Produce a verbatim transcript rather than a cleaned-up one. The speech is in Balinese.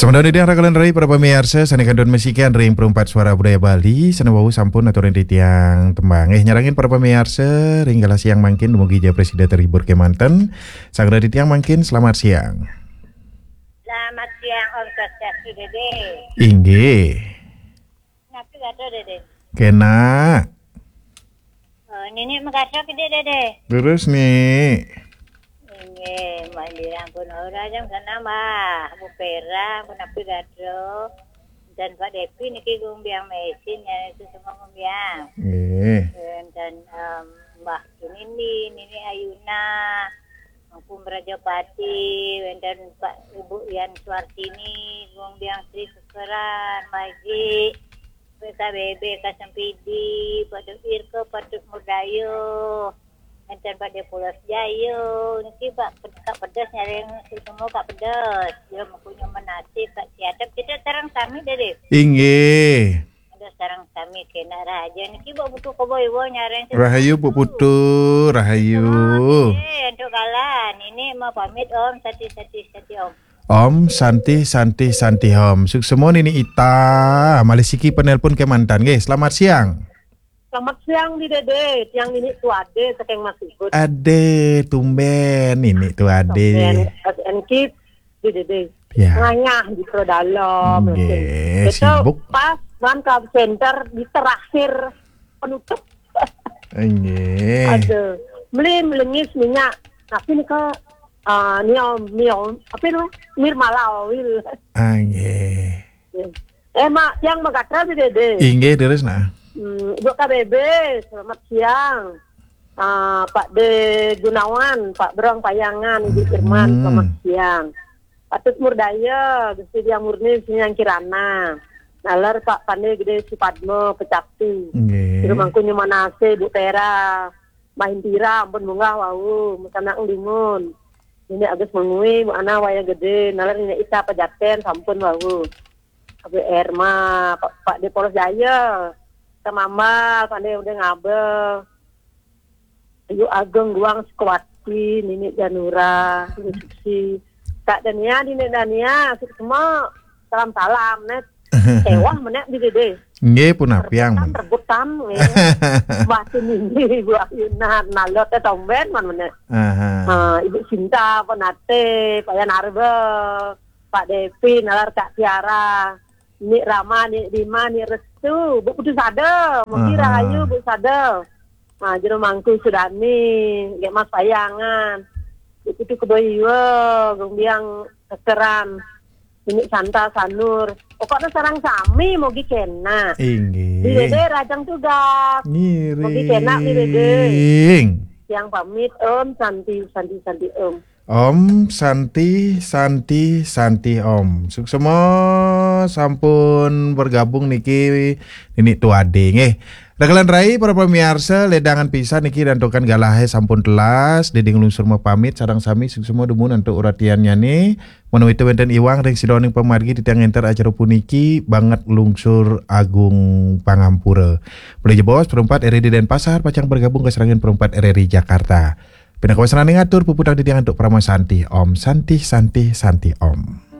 Sangdon titiang rakalan rai para pamiarsa sané kantun masikian ring Perumpat Suara Budaya Bali, sané wau sampun aturin titiang tembang. Eh, nyarengin para pamiarsa ring galah siang mangkin dumugi ja prasida terhibur kémanten. Sangdon titiang mangkin selamat siang. Selamat siang, Om Swastiastu, Dédé. Inggih. Napi gatra, Dédé? Kénak. Oh, Nini magatra, Dédé? Leres, Ni. Inggih, Mbak Indira ampun ora jam sana, Mbak. Bu Pera ampun napi gatra. Dan Pak Depi niki gumbiang mesin ya, itu semua gumbiang. Nggih. Dan, em, Mbak Nini, Nini Ayuna, Mangku Mrajapati, wénten Pak Ibu Yan Suartini, Gong Biang Sri Kekeran, Maji, P K B B, Kasempidi, Pak Duk Irke, Pak Duk Murdayo, wénten Pak Depulos Jayo, niki Pak Kak Pedes nyareng semua Kak Pedes. Ya, mempunyai menasih Kak Siadep, kita sareng sami, Dédé. Inggih. Ada sareng sami kena raja niki, Mbok Putu Kebo Iwo nyareng. Rahayu, Bu Putu, rahayu. Eh, untuk kalan ini mau pamit, Om, sati, sati, sati, Om. Om Santi, Santi, Santi, Om. Suksma Nini Ita, malih siki penelpon kémanten nggih. Selamat siang. Selamat siang, Dédé. Tiang Nini Tu Ade saking Masibut. Ade, tumben Nini Tu Ade. Tumben, S N Kid. Dédé. Ya. Ngayah di Pro Dalam. Nggih, sibuk. Pas man ke center di terakhir penutup. Nggih. Aduh, beli melengis minyak. Tapi ni ke, ah, ni om, ni om, apa ni? Mirmala oil. Ah, nggih. Eh, Mak, yang magatra, Dédé. Inggih, terus nah. Hmm, Ibu K B B, selamat siang. Ah, Pak De Gunawan, Pak Brong Payangan, Ibu Firman, selamat siang. Patut Murdaya, Gusti Diang Murni, Sinyang Kirana. Nalar Pak Pande Gede Supadmo, Pecakti. Nggih. Rumangku Nyumanase, Bu Tera, Mahintira, ampun munggah wau, mekanak lingun. Ini Agus Mengui, Bu Ana Waya Gede, nalar Nini Ita Pejaten, sampun wau. Abe Erma, Pak, Pak Depolos Jaya, Tamambal, Pande udah ngabel. Ayu Ageng Guang Sukwati, Nini Janura, Nini Suksi. Kak Dania, Nini Dania, semua salam-salam, net. Sewah menek di Dédé. Nggih, pun apiang. Rebutan, rebutan, nggih. Mbah Nini, Bu Ayunan, nalot, eh, tomben, man menek. Aha. Ah, Ibu Sinta, Penate, Pak Yan Arbe, Pak Devi, nalar Kak Tiara. Nik Rama, Nik Dima, Nik Restu, Bu Putu Sada, Mugi Rahayu, Bu Sada. Nah, Jero Mangku Sudani, Gek Mas Payangan. Bu Putu Kebo Iwa, Gong Biang Kekeran. Ini Santa Sanur. Pokoknya sareng sami, mugi kena. Inggih. Di Dédé rajang tugas. Ngiring. Mugi kena, di Dédé. Yang pamit, Om Santi, Santi, Santi, Om. Om Santi, Santi, Santi, Om. Suksma sampun bergabung niki Nini Tuade nggih. Rakalan rai para pamiarsa, ledangan pisan niki rantukan galahe sampun telas, Dédé nglungsur mapamit sareng sami suksma dumun antuk uratiannyane. Menawi wenten iwang ring sidaning pamargi titiang ngenter acara puniki banget lungsur agung pangampura. Malih jebos perempat R R I Denpasar pacang bergabung ke serangan perempat R R I Jakarta. Pinaka wasananing atur puputang titiang antuk parama santi. Om Santi, Santi, Santi, Om.